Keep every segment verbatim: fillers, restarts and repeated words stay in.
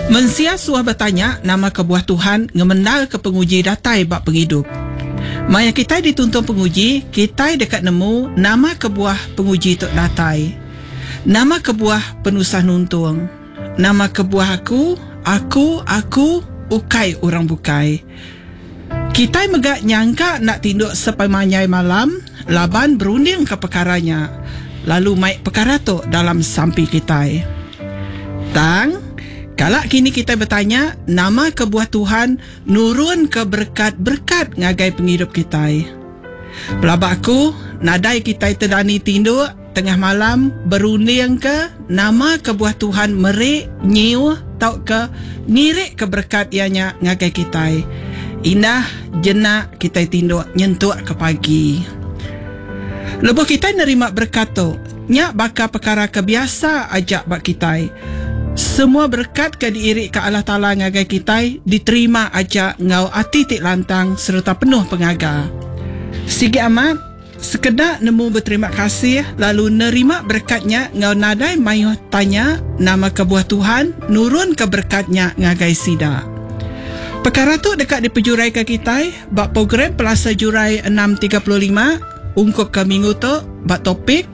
Mensia suah betanya nama kebuah Tuhan ngemendarka penguji datai ba pengidup. Maya kitai dituntung penguji, kitai deka nemu nama kebuah penguji tu datai. Nama kebuah penusah nuntung? Nama kebuah aku, aku, aku, ukai orang bukai? Kitai mega nyangka enda tinduk sepemanjai malam laban berundingka pekara nya lalu mai pekara tu dalam sampi kitai. Tang, kala kini kitai betanya nama kebuah Tuhan nurunka berekat-berekat ngagai pengidup kitai. Pelaba aku, nadai kitai tedani tinduk tengah malam berundingka nama kebuah Tuhan meri, nyiuh tauka ngirika berekat iya nya ngagai kitai. Indah jenak kitai tinduk nyentuk ke pagi. Lebuh kitai nerima berekat tu, nya baka pekara ke biasa aja ba kitai. Semua berekat ke diirika Allah Taala ngagai kitai diterima aja enggau ati ti lantang sereta penuh pengaga. Sigi amat, sekeda nemu beterima kasih lalu nerima berekat nya enggau nadai mayuh tanya nama kebuah Tuhan nurunka berekat nya ngagai sida. Pekara tu deka dipejuraika kitai ba program Pelasa Jurai enam tiga puluh lima ungkup ke minggu tu ba topik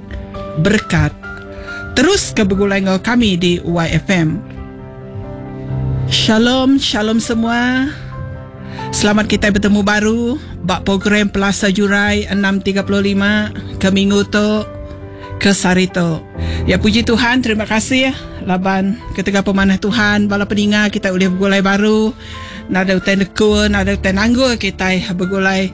Berekat. Terus ke begulai enggau kami di Y F M. Shalom, shalom semua. Selamat kitai betemu baru ba program Pelasa Jurai enam tiga puluh lima ke minggu tu, ke sehari tu. Ya, puji Tuhan, terima kasih laban ketegal pemanah Tuhan, bala peninga kita ulih begulai baru. Nadai utai nekul, nadai utai nanggul kitai begulai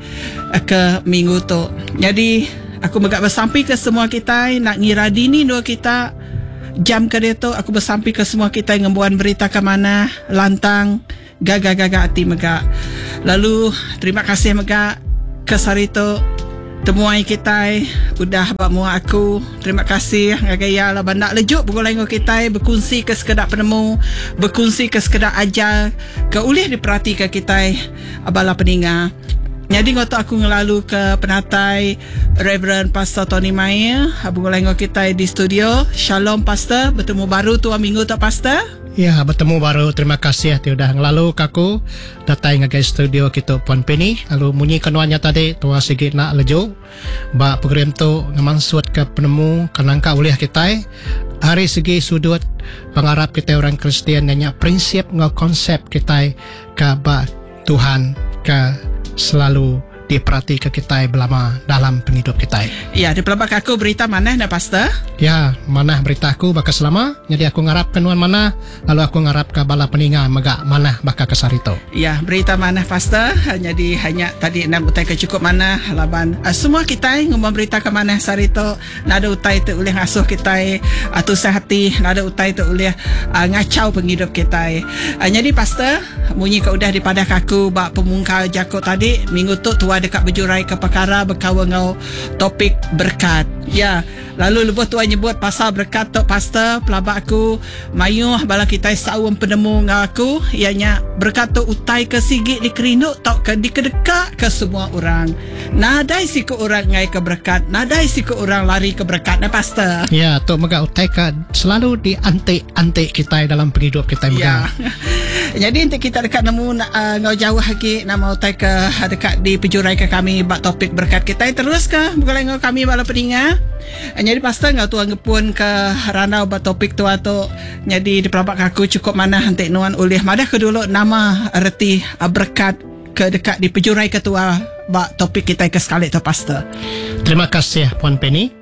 ke minggu tu. Jadi, aku mega besampi ke semua kitai, nak ngira dini dua kita jam ke dia tu, aku besampi ke semua kitai ngembuan berita ke manah, lantang, gaga-gaga ati mega. Lalu terima kasih mega ke sehari tu temuai kitai udah ba mua aku. Terima kasih ngagai iya laban nak lejuk begulai enggau kitai berkongsi ke sekeda penemu, berkongsi ke sekeda ajar ke ulih diperatika kitai bala peninga. Jadi ngoto aku ngelalu ke penatai Reverend Pastor Tony Mair begulai enggau kitai di studio. Shalom Pastor, bertemu baru tua minggu tu Pastor. Ya, bertemu baru. Terima kasih ti udah ngelalu ke aku datai ngagai studio kita Puan Penny. Lalu munyi kenuannya tadi tua sigi nak lejuk ba program tu ngemansut ke penemu kenangka ulih kitai hari segi sudut pengarap kita orang Kristian nanya prinsip ngau konsep kitai ke ba Tuhan ke selalu diperhati ke kitai belama dalam penghidup kitai. Ya, dipelabak aku berita manah dah Pastor? Ya, manah berita aku baka selama. Jadi aku ngarap ke nuan manah, lalu aku ngarap ke bala peninga mega manah baka ke sehari tu. Ya, berita manah Pastor. Jadi hanya tadi enam utai ke cukup manah laban semua kitai ngumum berita ke manah sehari tu. Nada utai tu ulih ngasuh kitai tusah hati, nada utai tu ulih uh, ngacau penghidup kitai. Uh, jadi Pastor, munyi ke udah dipadah aku ba pemungkal jako tadi, minggu tu tua dekat berjurai ke perkara berkawan ngau topik berkat. Ya, lalu lebuh tua nyebut pasal berkat tu Pastor, pelabak aku mayuh bala kitai saum penemu ngau aku, ianya berkat tu utai ke sigi dikerindu tau ke dikedeka ke semua orang. Nadai siku orang ngai ke berkat, nadai siku orang lari ke berkat nah Pastor. Ya, tu mega utai ke selalu diantik-antik kitai dalam penghidup kitai mega. Ya. Jadi nanti kita dekat nemu uh, ngau jauh lagi nama utai ke dekat di pejurai ke kami bak topik berkat kita terus ke begulai ngau kami bala peninga. Jadi Pastor ngau tuan ngepun ke randau bak topik tua tu. Jadi dipelabak aku cukup manah nanti nuan ulih madah ke dulu nama reti berkat ke dekat di pejurai ketua bak topik kita ke sekali tu Pastor. Terima kasih Puan Penny.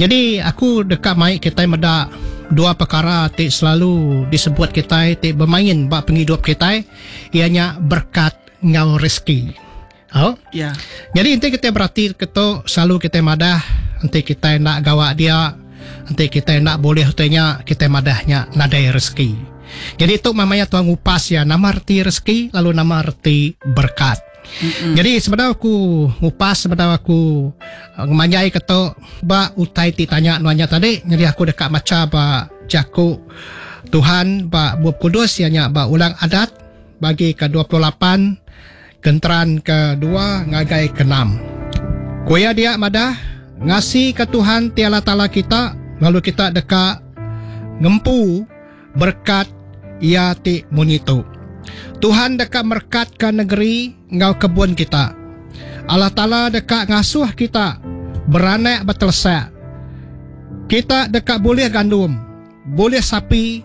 Jadi aku dekat mai kita medak dua perkara ti selalu disebut kita ti bermain bak penghidup kita ianya berkat ngau rezeki. Oh. Ya. Jadi nanti kita berarti ketu selalu kita madah nanti kita nak gawak dia, nanti kita nak boleh utainya kita madahnya nadai rezeki. Jadi tu mamanya tuan ngupas ya nama reti rezeki lalu nama reti berkat. Mm-hmm. Jadi sebenarnya aku ngupas sebenarnya aku ngemanjai ketu ba utai ti tanya nuannya tadi. Jadi aku dekat maca ba jaku Tuhan ba Bup Kudus ianya ba Ulang Adat bagi ke dua puluh lapan genteran ke dua ngagai ke enam. Kuya dia madah ngasi ke Tuhan ti Allah Taala kita lalu kita dekat ngempu berkat ia ti munyi tu. Tuhan deka merkat ke negeri ngau kebun kita. Allah Ta'ala deka ngasuh kita beranak betelesak. Kita deka boleh gandum, boleh sapi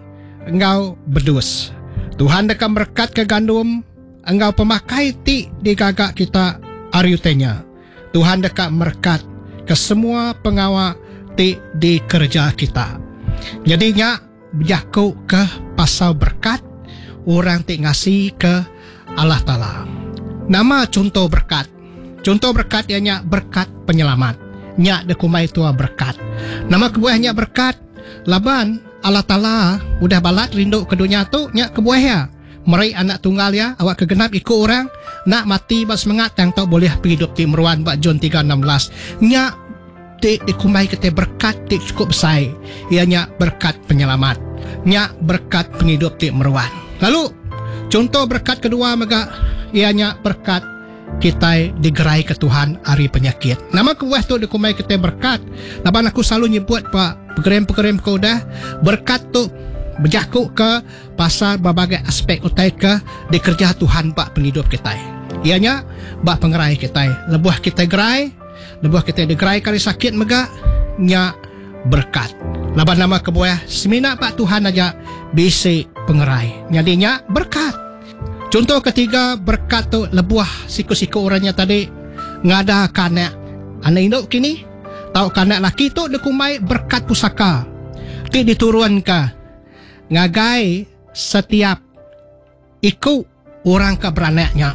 ngau bedus. Tuhan deka merkat ke gandum engau pemakai ti digagak kita ariutenya. Tuhan deka merkat ke semua pengawak ti dikerja kita. Jadinya berjaku ke pasal berkat orang ti ngasi ke Allah Ta'ala. Nama contoh berkat. Contoh berkat ianya berkat penyelamat. Nyak dekumai tua berkat. Nama kebuahnya berkat. Laban Allah Ta'ala udah balat rindu ke dunia tu nyak kebuah ya. Meri anak tunggal ya, awak kegenap ikut orang nak mati bak semangat tang tau boleh hidup ti meruan bak John tiga enam belas. Nyak ti dikumai kita berkat ti cukup besar. Ianya berkat penyelamat. Nyak berkat penghidup ti meruan. Lalu contoh berkat kedua mega ianya berkat kita digerai ke Tuhan hari penyakit. Nama kebuah tu dikumai kita berkat. Laban aku selalu nyebut pak pekerem-pekerem kau dah berkat tu berjakuk ke pasal berbagai aspek utai ke dikerja Tuhan bak penghidup kita. Ianya bak pengerai kita. Lebuh kita gerai, lebuh kita digerai kali sakit mega nya berkat. Laban nama kebuah semina bak Tuhan aja bisi pengerai. Jadinya berkat. Contoh ketiga berkat tu lebuh siku-siku orangnya tadi ngada kanak anak induk kini tau kanak laki tu dikumai berkat pusaka ti diturun ke ngagai setiap iku orang ke beranaknya.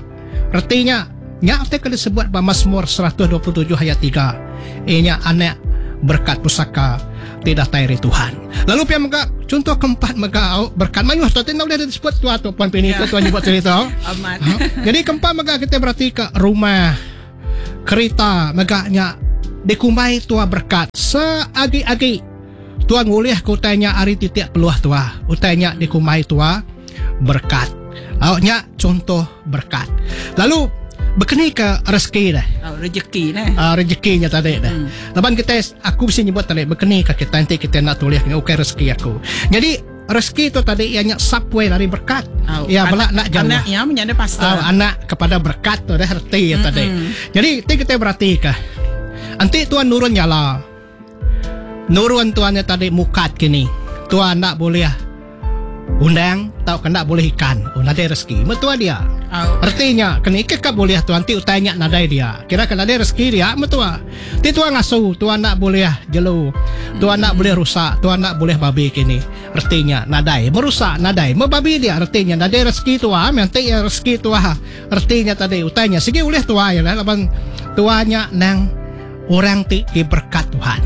Artinya nya te ke disebut ba Mazmur seratus dua puluh tujuh ayat tiga. Inya anak berkat pusaka tidak datai dari Tuhan. Lalu pia mega contoh keempat mega berkat mayuh tu tak boleh disebut tua tu puan pini tu tuan nyebut cerita. Amat. Ha? Jadi keempat mega kita berarti ke rumah, kereta mega nya dikumbai tua berkat seagi-agi tuan ngulih ke utainya ari titik peluah tua. Utainya dikumai tua berkat. Awaknya contoh berkat. Lalu berkeni ke rezeki dah. Oh, rezeki dah. Uh, rezekinya tadi dah. Hmm. Laban kita aku mesti nyebut tadi berkeni ke kita nanti kita nak tulis ni okey rezeki aku. Jadi rezeki tu tadi ianya subway dari berkat. Oh, ya belak nak jauh. Anaknya menjadi pastor. Oh, anak kepada berkat tu dah reti ya tadi. Jadi ti kita berarti ke. Nanti tuan nurun nyala. Nurun tuannya tadi mukat kini. Tuan nak boleh undang tau kena boleh ikan. Oh nadai rezeki. Metua dia. Oh. Artinya kena ikan kak boleh tuan ti utainya nadai dia. Kira kena nadai rezeki dia metua. Ti tuan ngasu, tuan nak boleh jelu. Tuan nak boleh rusak, tuan nak boleh babi kini. Artinya nadai merusak nadai mebabi dia. Artinya nadai rezeki tua, nanti ya rezeki tua. Artinya tadi utainya sigi boleh tua ya lah laban tuanya nang orang ti diberkat Tuhan.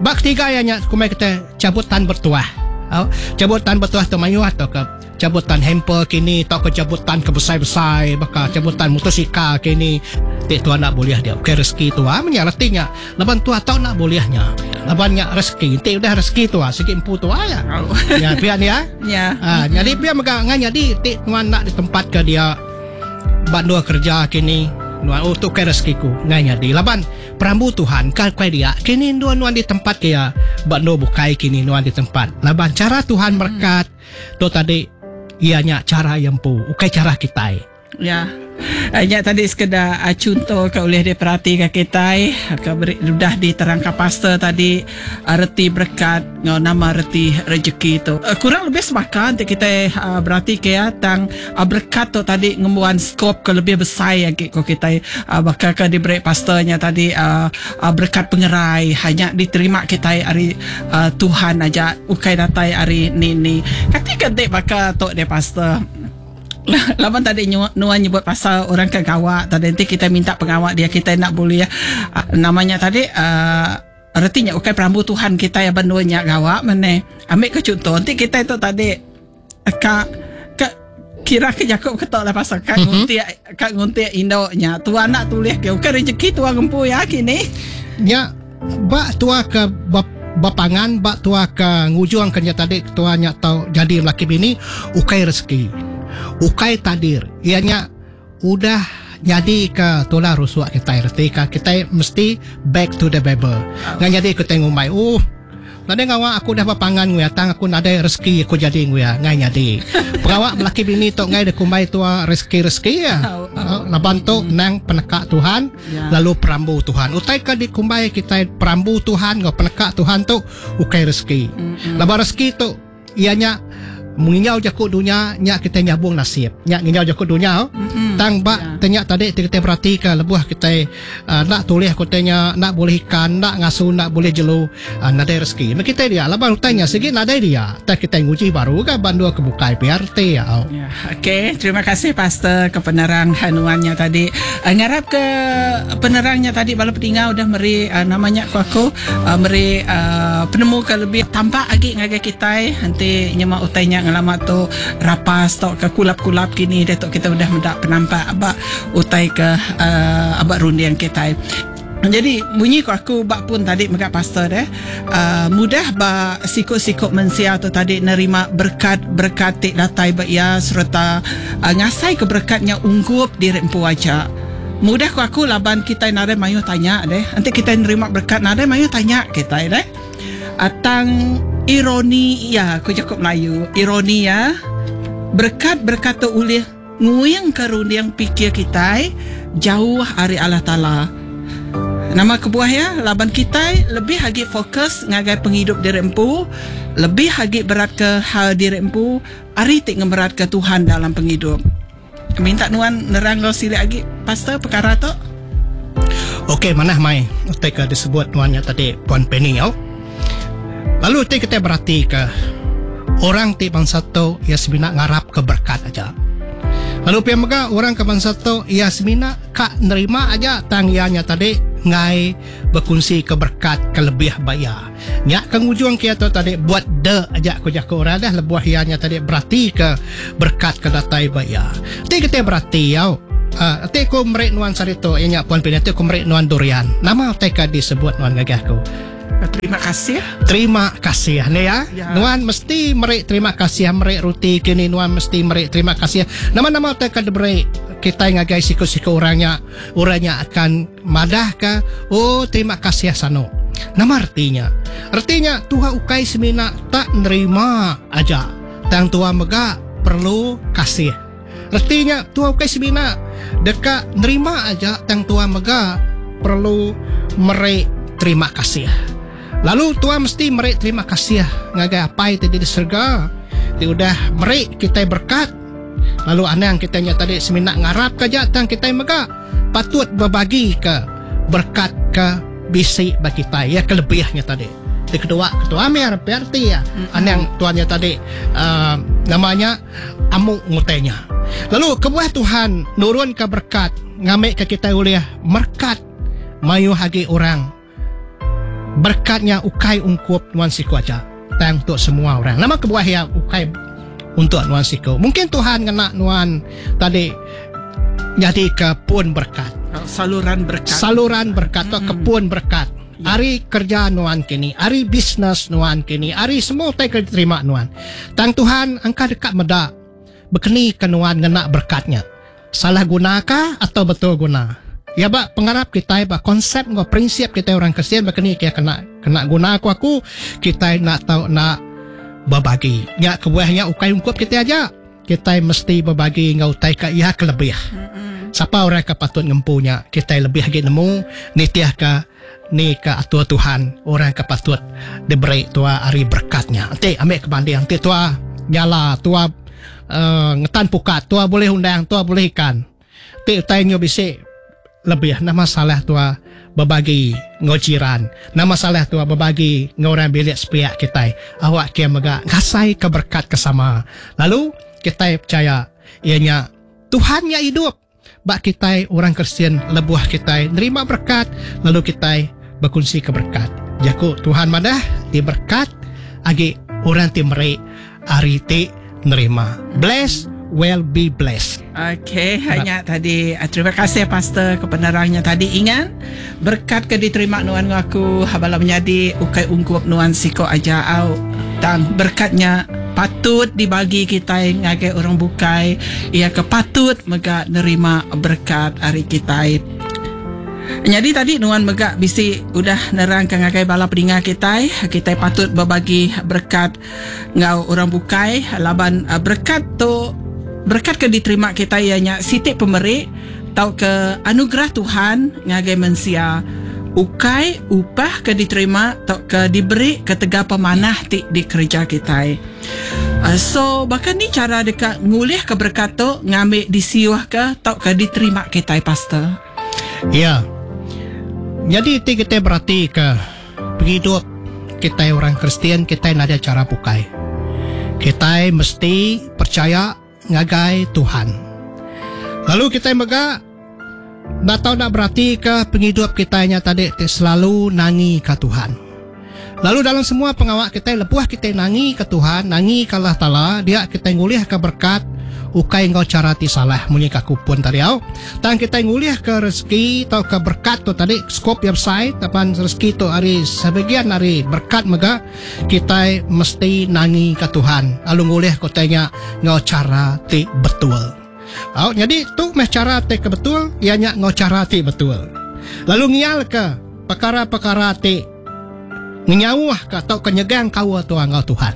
Bak tiga ayatnya kumai kita cabutan bertuah. Oh, cabutan bertuah tu mayu atau ke cabutan hamper kini atau ke cabutan ke besai-besai baka cabutan motosikal kini ti tuan nak boleh dia. Okey rezeki tua menya artinya laban tua tau nak bolehnya. Labannya rezeki. Ti udah rezeki tua sikit empu tua ya. Oh. Ya pian ya. Ya. Ha, jadi pian mega ngan jadi ti tuan nak di tempat ke dia bandua kerja kini. Nuan oh tu kai rezekiku ngai nyadi laban perambu Tuhan kal kai dia kini nuan nuan di tempat kia bando bukai kini nuan di tempat laban cara Tuhan berkat tu tadi ianya cara yang pu ukai cara kita. Ya. Nya tadi sekedar uh, contoh ke oleh diperhati ke kita ke beri, sudah diterangkan pastor tadi uh, reti berkat ngau nama reti rezeki tu. Uh, kurang lebih sepakat nanti kita uh, berarti ke ya tang uh, berkat tu tadi ngembuan skop ke lebih besar yang ko kita uh, bakal ke diberi pastornya tadi uh, uh, berkat pengerai hanya diterima kita hari uh, Tuhan aja ukai datai hari ni ni. Kati kentik bakal tok dia pastor. Laban tadi nuan nyebut pasal orang ke gawak tadi nanti kita minta pengawak dia kita nak boleh ya. Namanya tadi uh, artinya ukai perambu Tuhan kita ya banduanya gawak mana ambil ke contoh nanti kita itu tadi ka ka kira ke Jakob ketok lah pasal kak nguntik kak nguntik indoknya tuan nak tulis ke ukai rezeki tuan gempu ya kini ya bak tua ke bap bapangan bak tua ke ngujuang kerja tadi tuanya tau jadi laki bini ukai rezeki ukai tadir ianya udah jadi ke tulah rusuak kita erti ka kita mesti back to the Bible. Ngan jadi kita ngumai oh Nadai ngawa aku dah berpangan nguya tang aku nadai rezeki aku jadi nguya ngai nyadi. Pengawak belaki bini tu ngai dekumbai tua rezeki-rezeki ya. Au, au. Laban tu nang peneka Tuhan Ya. lalu perambu Tuhan. Utai ke dikumbai kita perambu Tuhan ngau peneka Tuhan tu ukai rezeki. Laban rezeki tu ianya menginjau jaku dunia nya kita nyabung nasib. Nya nginjau jaku dunia. Mm-mm. Tang bak Ya. tanya tadi ti kita berhati ke lebuh kita uh, nak tulis kotanya nak boleh ikan nak ngasu nak boleh jelu uh, nadai rezeki. Mak kita dia laban utangnya segi nadai dia. Tak kita nguji baru ke bandua ke bukai P R T ya. Ya, okey, terima kasih Pastor ke penerang hanuannya tadi. Uh, ngarap ke penerangnya tadi bala petinggal udah meri uh, namanya ku aku uh, meri uh, penemu ke lebih tampak lagi ngagai kita nanti nyemak utainya ngelama tu rapas tok ke kulap-kulap kini dia tok kita udah mendak penampak abak utai ke uh, abak rundian kita. Jadi bunyi ku aku bak pun tadi megak pastor deh uh, mudah ba sikut-sikut mensia tu tadi nerima berkat-berkat tik datai ba ia serta uh, ngasai ke berkatnya ungkup diri empu aja. Mudah ku aku laban kita nadai mayu tanya deh. Nanti kita nerima berkat nadai mayu tanya kita deh. Atang ironi ya aku cakap Melayu ironi ya berkat-berkat tu ulih nguyang ke runding pikir kita jauh ari Allah Taala. Nama kebuah ya laban kita lebih agi fokus ngagai penghidup diri empu, lebih agi berat ke hal diri empu, ari tik ngemerat ke Tuhan dalam penghidup. Minta nuan nerang lo silik agi pastor perkara tu. Okey, manah mai utai ke disebut nuannya tadi Puan Penny yo. Lalu utai kita berhati ke orang ti bangsa tu ia semina ngarap ke berkat aja. Lalu pia mega orang ke bangsa tu ia semina ka nerima aja tang ianya tadi ngai berkongsi ke berkat ke lebih baya. Nya ke ngujung kia tu tadi buat de aja ku jaku orang dah lebuh ianya tadi berarti ke berkat ke datai baya. Ti kita berarti yau. Uh, ti ku merik nuan sarito ianya Puan Pina ti ku merik nuan durian. Nama utai ka disebut nuan gagah ku. Terima kasih. Terima kasih ni ya. Ya. Nuan mesti merik terima kasih merik roti kini nuan mesti merik terima kasih. Nama-nama utai ka diberi kita ngagai siku-siku orangnya orangnya akan madah ke oh terima kasih sano. Nama artinya artinya Tuhan ukai semina tak nerima aja. Tang Tuhan mega perlu kasih. Artinya Tuhan ukai semina dekat nerima aja tang Tuhan mega perlu merik terima kasih. Lalu Tuhan mesti merik terima kasih ngagai apai ti di surga. Ti udah merik kita berkat. Lalu anang kita nya tadi semina ngarap ke aja tang kita mega patut berbagi ke berkat ke bisi bagi kita ya kelebihnya tadi. Ti kedua ketua Amir P R T ya. Anang tuannya tadi uh, namanya amuk ngutenya. Lalu kebuah Tuhan nurun ke berkat ngamik ke kita oleh merkat mayu hagi orang. Berkatnya ukai ungkup nuan siku aja. Tang untuk semua orang. Nama kebuah ya ukai untuk nuan siku. Mungkin Tuhan ngena nuan tadi jadi ke pun berkat. Saluran berkat. Saluran berkat atau mm-hmm. kepun berkat. Ya. Ari kerja nuan kini, ari bisnes nuan kini, ari semua utai ke diterima nuan. Tang Tuhan angka dekat medak bekeni ke nuan ngena berkatnya. Salah gunakah atau betul guna? Ya bak pengarap kita bak konsep ngau prinsip kita orang Kristian bekeni kia kena kena guna aku aku kita nak tahu nak berbagi. Nya kebuahnya ukai ungkup kita aja. Kita mesti berbagi ngau utai ka ia kelebih. Mm-hmm. Siapa orang ke patut ngempunya kita lebih lagi nemu nitiah ke ni ke atur Tuhan orang ke patut diberi tua hari berkatnya. Nanti ambil ke banding nanti tua nyala tua uh, ngetan pukat tua boleh undang tua boleh ikan. Nanti utai nyo bisik lebih nama salah tua berbagi ngau jiran nama salah tua berbagi ngau orang bilik sepiak kita awak kia mega ngasai ke berkat kesama lalu kita percaya ianya Tuhan yang hidup bak kita orang Kristian lebuh kita nerima berkat lalu kita berkongsi ke berkat jaku Tuhan madah di berkat agi orang ti merik ari ti nerima bless will be blessed. Okey, hanya tadi terima kasih pastor ke penerangnya tadi. Ingat berkat ke diterima nuan aku habala menjadi ukai ungkup nuan siko aja au tang berkatnya patut dibagi kita ngagai orang bukai ia ke patut mega nerima berkat hari kita. Jadi tadi nuan megak bisi udah nerangkan ngagai bala peninga kita, kita patut berbagi berkat ngau orang bukai laban uh, berkat tu berkat ke diterima kita ianya sitik pemeri tau ke anugerah Tuhan ngagai mensia. Ukai upah ke diterima tau ke diberi ketegal pemanah ti dikerja kita. Uh, so bahkan ni cara dekat ngulih ke berkat tu ngambil disiuh ke tau ke diterima kita, pastor? Ya. Jadi ti kita berarti ke penghidup kita orang Kristian, kita ada cara bukai. Kita mesti percaya ngagai Tuhan. Lalu kita mega nak tahu nak berarti ke penghidup kita nya tadi ti selalu nangi ke Tuhan. Lalu dalam semua pengawak kita lebuh kita nangi ke Tuhan, nangi ke Allah Taala, dia kita ngulih ke berkat ukai ngau cara ti salah munyi ka kupon tadi au. Tang kita ngulih ke rezeki atau ke berkat tu tadi skop yang besar tapan rezeki tu hari sebagian hari berkat mega kita mesti nangi ke Tuhan. Lalu ngulih kotanya ngau cara ti betul. Au, jadi tu meh cara ti ke betul, ianya ngau cara ti betul. Lalu ngial ke perkara-perkara ti ngenyauh ke atau ke nyegang kawa tua ngau Tuhan.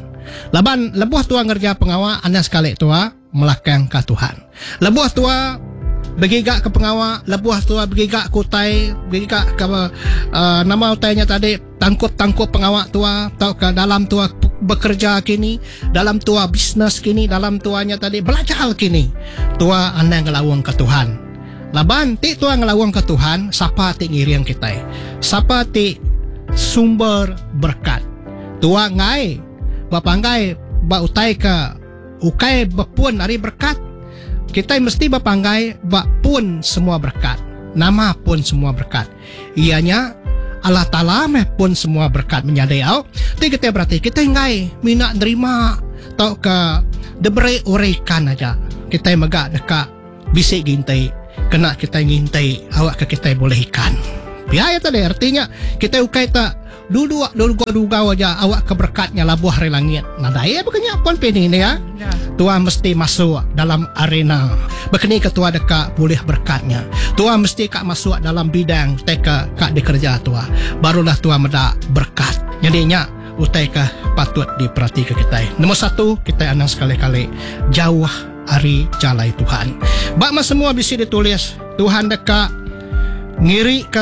Laban lebuh tua ngerja pengawak anda sekali tua melakang ke Tuhan. Lebuh tua bergigak ke pengawak, lebuh tua bergigak ke utai, bergigak ke uh, nama utainya tadi tangkup-tangkup pengawak tua atau ke dalam tua bekerja kini, dalam tua bisnes kini, dalam tuanya tadi belajar kini. Tua anda ngelawang ke Tuhan. Laban ti tua ngelawang ke Tuhan, siapa ti ngiring kita? Siapa ti sumber berkat? Tua ngai bapanggai ba utai ke ukai bepun ari berkat. Kita mesti bapanggai ba pun semua berkat. Nama pun semua berkat. Ianya Allah Ta'ala meh pun semua berkat menyadai au. Ti kita berarti kita ngai mina nerima tau ke diberi urikan aja. Kita megak dekat bisik gintai kena kita ngintai awak ke kita boleh ikan. Biaya tadi artinya kita ukai tak duduk dulu duga aja awak ke berkatnya labuh hari langit. Nah daya bukannya pun pini ni ya. Ya. Tua mesti masuk dalam arena. Berkeni ketua dekat boleh berkatnya. Tua mesti kak masuk dalam bidang teka kak dikerja tua. Barulah tua medak berkat. Jadinya utai ke patut diperhatikan kita. Nombor satu, kita anang sekali-kali jauh hari jalai Tuhan. Bak mas semua bisi ditulis Tuhan dekat ngiri ke